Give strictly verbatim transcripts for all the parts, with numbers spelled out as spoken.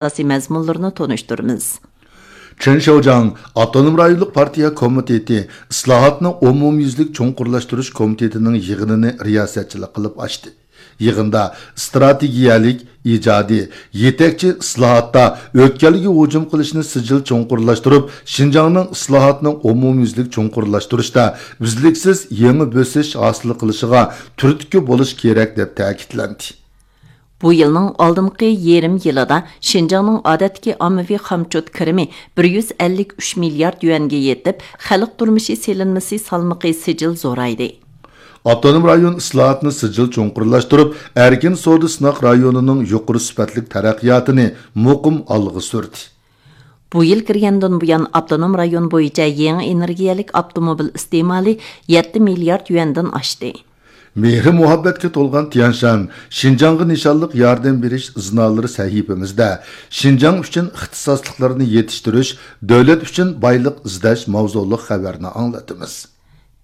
ئاساسىي مەزمۇنلىرىنى تونۇشتۇرىمىز. چېن شياۋجياڭ ئاپتونوم رايونلۇق پارتىيە كومىتېتى ئىسلاھاتنى ئومۇميۈزلۈك چوڭقۇرلاشتۇرۇش كومىتېتىنىڭ يىغىنىنى رىياسەتچىلىك قىلىپ ئاچتى. يىغىندا ئىستراتېگىيەلىك، ئىجادىي، يېتەكچى ئىسلاھاتتا ئۆتكەلگە ھۇجۇم قىلىشنى سىجىل چوڭقۇرلاشتۇرۇپ، شىنجاڭنىڭ ئىسلاھاتنى ئومۇميۈزلۈك چوڭقۇرلاشتۇرۇشتا ئۈزلۈكسىز يېڭى بۆسۈش ھاسىل قىلىشىغا تۈرتكە بولۇش كېرەك، دەپ تەكىتلەندى. بۇ يىلنىڭ ئالدىنقى يېرىم يىلىدا شىنجاڭنىڭ ئادەتتىكى ئاممىۋى خامچوت كىرىمى بىر يۈز ئەللىك ئۈچ مىليارد يۈەنگە يېتىپ، خەلق تۇرمۇشى سېلىنمىسى سالمىقى سىجىل زورايدى. ئاپتونوم رايون ئىسلاھاتنى سىجىل چوڭقۇرلاشتۇرۇپ، ئەركىن سودا سىناق رايونىنىڭ يۇقىرى سۈپەتلىك تەرەققىياتىنى مۇقىم ئالغا سۈردى. بۇ يىل كىرگەندىن بۇيان، ئاپتونوم رايون بويىچە يېڭى ئېنېرگىيەلىك ئاپتوموبىل ئىستېمالى يەتتە مىليارد يۈەندىن ئاشتى. مېھرى مۇھەببەتكە تولغان تيەنشان، شىنجاڭغا نىشانلىق ياردەم بېرىش ئىزنالىرى سەھىپىمىزدە شىنجاڭ ئۈچۈن ئىختىساسلىقلارنى يېتىشتۈرۈش، دۆلەت ئۈچۈن بايلىق ئىزدەش ماۋزۇلۇق خەۋەرنى ئاڭلىتىمىز.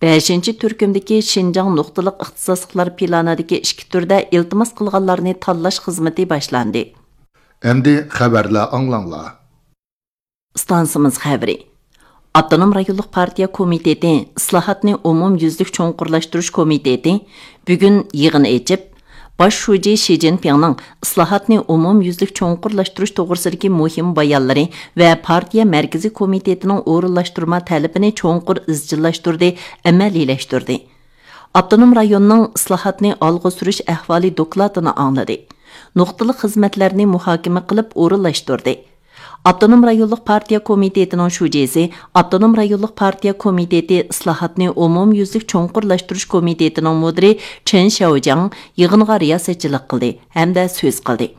بەشىنچى تۈركۈمدىكى شىنجاڭ نۇقتىلىق ئىختىساسلىقلار پىلانىدىكى ئىككى تۈردە ئىلتىماس قىلغانلارنى تاللاش خىزمىتى باشلاندى. ئەمدى خەۋەرلەر ئاڭلاڭلار. ئىستانسىمىز خەۋىرى. ئاپتونوم رايونلۇق پارتىيە كومىتېتى ئىسلاھاتنى ئومۇميۈزلۈك چوڭقۇرلاشتۇرۇش كومىتېتى بۈگۈن يىغىن ئېچىپ، باش شۇجى شى جىنپىڭنىڭ ئىسلاھاتنى ئومۇميۈزلۈك چوڭقۇرلاشتۇرۇش توغرىسىدىكى مۇھىم بايانلىرى ۋە پارتىيە مەركىزىي كومىتېتىنىڭ ئورۇنلاشتۇرما تەلىپىنى چوڭقۇر ئىزچىللاشتۇردى، ئەمەلىيلەشتۈردى. ئاپتونوم رايوننىڭ ئىسلاھاتنى ئالغا سۈرۈش ئەھۋالى دوكلاتىنى ئاڭلىدى. نۇقتىلىق خىزمەتلەرنى مۇھاكىمە قىلىپ ئورۇنلاشتۇردى. ئاپتونوم رايونلۇق پارتىيە كومىتېتىنىڭ شۇجىسى، ئاپتونوم رايونلۇق پارتىيە كومىتېتى ئىسلاھاتنى ئومۇميۈزلۈك چوڭقۇرلاشتۇرۇش كومىتېتىنىڭ مۇدىرى چېن شياۋجياڭ يىغىنغا رىياسەتچىلىك قىلدى ھەمدە سۆز قىلدى.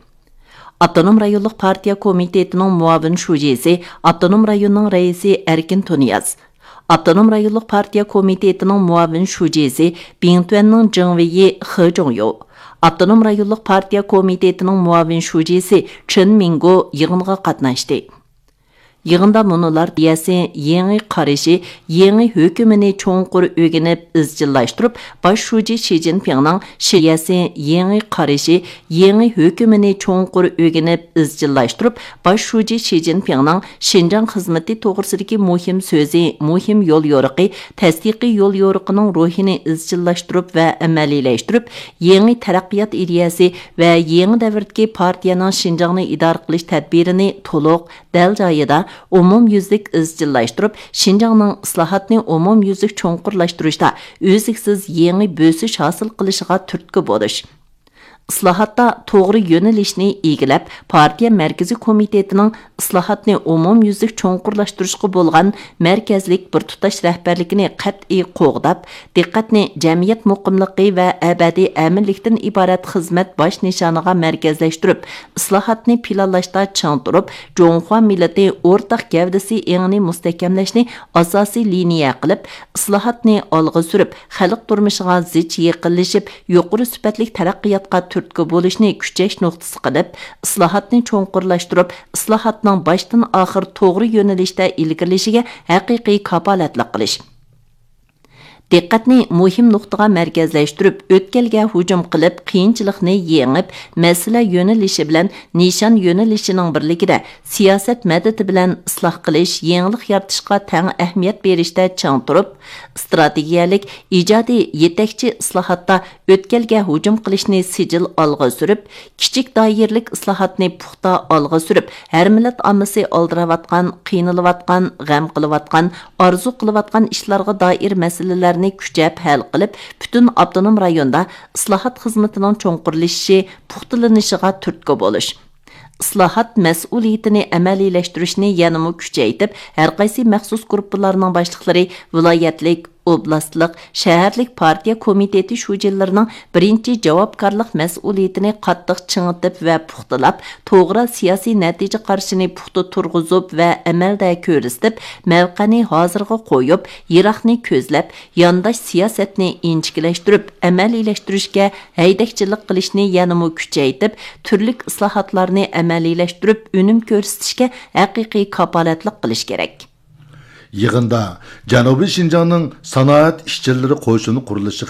ئاپتونوم رايونلۇق پارتىيە كومىتېتىنىڭ مۇئاۋىن شۇجىسى، ئاپتونوم رايوننىڭ رەئىسى ئەركىن تۇنىياز، ئاپتونوم رايونلۇق پارتىيە كومىتېتىنىڭ مۇئاۋىن شۇجىسى، بىڭتۈەننىڭ جېڭۋېيى خې جۇڭيو، ئاپتونوم رايونلۇق پارتىيە كومىتېتىنىڭ مۇئاۋىن شۇجىسى چېن مىڭگو يىغىنغا قاتناشتى. يىغىندا مۇنۇلار دېيەسى يېڭى قارىشى، يېڭى ھۆكۈمىنى چوڭقۇر ئۆگىنىپ ئىزچىللاشتۇرۇپ، باش شۇجى شى جىنپىڭنىڭ شىيەسى يېڭى قارىشى، يېڭى ھۆكۈمىنى چوڭقۇر ئۆگىنىپ ئىزچىللاشتۇرۇپ، باش شۇجى شى جىنپىڭنىڭ شىنجاڭ خىزمىتى توغرىسىدىكى مۇھىم سۆزى، مۇھىم يوليورۇقى، تەستىقىي يوليورۇقىنىڭ روھىنى ئىزچىللاشتۇرۇپ ۋە ئەمەلىيلەشتۈرۈپ، يېڭى تەرەققىيات ئىدىيەسى ۋە يېڭى دەۋردىكى پارتىيەنىڭ شىنجاڭنى ئىدارە قىلىش تەدبىرىنى تولۇق، دەل جايىدا، ئومۇميۈزلۈك ئىزچىللاشتۇرۇپ، شىنجاڭنىڭ ئىسلاھاتنى ئومۇميۈزلۈك چوڭقۇرلاشتۇرۇشتا ئۈزلۈكسىز يېڭى بۆسۈش ھاسىل قىلىشىغا تۈرتكە بولۇش. ئىسلاھاتتا توغرا يۆنىلىشنى ئىگىلەپ، پارتىيە مەركىزىي كومىتېتىنىڭ ئىسلاھاتنى ئومۇميۈزلۈك چوڭقۇرلاشتۇرۇشقا بولغان مەركەزلىك بىر تۇتاش رەھبەرلىكىنى قەتئىي قوغداپ، دىققەتنى جەمئىيەت مۇقىملىقى ۋە ئەبەدىي ئەمىنلىكتىن ئىبارەت خىزمەت باش نىشانىغا مەركەزلەشتۈرۈپ، ئىسلاھاتنى پىلانلاشتا چىڭ تۇرۇپ، جۇڭخۇا مىللىتى ئورتاق گەۋدىسى ئېڭىنى مۇستەھكەملەشنى ئاساسىي لىنىيە قىلىپ، ئىسلاھاتنى ئالغا سۈرۈپ، خەلق تۇرمۇشىغا زىچ يېقىنلىشىپ، يۇقىرى سۈپەتلىك تەرەققىياتقا تۈرتكە بولۇشنى كۈچەش نۇقتىسى قىلىپ، ئىسلاھاتنى چوڭقۇرلاشتۇرۇپ، ئىسلاھاتنىڭ باشتىن ئاخىر توغرا يۆنىلىشتە ئىلگىرىلىشىگە ھەقىقىي كاپالەتلىك قىلىش. دىققەتنى مۇھىم نۇقتىغا مەركەزلەشتۈرۈپ، ئۆتكەلگە ھۇجۇم قىلىپ، قىيىنچىلىقنى يېڭىپ، مەسىلە يۆنىلىشى بىلەن نىشان يۆنىلىشىنىڭ بىرلىكىدە سىياسەت مەدىتى بىلەن ئىسلاھ قىلىش، يېڭىلىق يارىتىشقا تەڭ ئەھمىيەت بېرىشتە چىڭ تۇرۇپ، ئىستراتېگىيەلىك، ئىجادىي، يېتەكچى ئىسلاھاتتا ئۆتكەلگە ھۇجۇم قىلىشنى سىجىل ئالغا سۈرۈپ، كىچىك دائىرىلىك ئىسلاھاتنى پۇختا ئالغا سۈرۈپ، ھەر مىللەت ئاممىسى ئالدىراۋاتقان، قىينىلىۋاتقان، غەم قىلىۋاتقان، ئارزۇ قىلىۋاتقان ئىشلارغا دائىر مەسىلىلەرنى كۈچەپ ھەل قىلىپ، پۈتۈن ئاپتونوم رايوندا ئىسلاھات خىزمىتىنىڭ چوڭقۇرلىشىشى، پۇختىلىنىشىغا تۈرتكە بولۇش. ئىسلاھات مەسئۇلىيىتىنى ئەمەلىيلەشتۈرۈشنى يەنىمۇ كۈچەيتىپ، ھەرقايسى مەخسۇس گۇرۇپپىلارنىڭ باشلىقلىرى، ۋىلايەتلىك، ئوبلاستلىق، شەھەرلىك پارتىيە كومىتېتى شۇجىلىرىنىڭ بىرىنچى جاۋابكارلىق مەسئۇلىيىتىنى قاتتىق چىڭىتىپ ۋە پۇختىلاپ، توغرا سىياسىي نەتىجە قارىشىنى پۇختا تۇرغۇزۇپ ۋە ئەمەلدە كۆرسىتىپ، مەۋقەنى ھازىرغا قويۇپ، يىراقنى كۆزلەپ، يانداش سىياسەتنى ئىنچىكىلەشتۈرۈپ، ئەمەلىيلەشتۈرۈشكە ھەيدەكچىلىك قىلىشنى يەنىمۇ كۈچەيتىپ، تۈرلۈك ئىسلاھاتلارنى ئەمەلىيلەشتۈرۈپ، ئۈنۈم كۆرسىتىشكە ھەقىقىي كاپالەتلىك قىلىش كېرەك. يىغىندا جەنۇبىي شىنجاڭنىڭ سانائەت ئىشچىلىرى قوشۇن قۇرۇلۇشى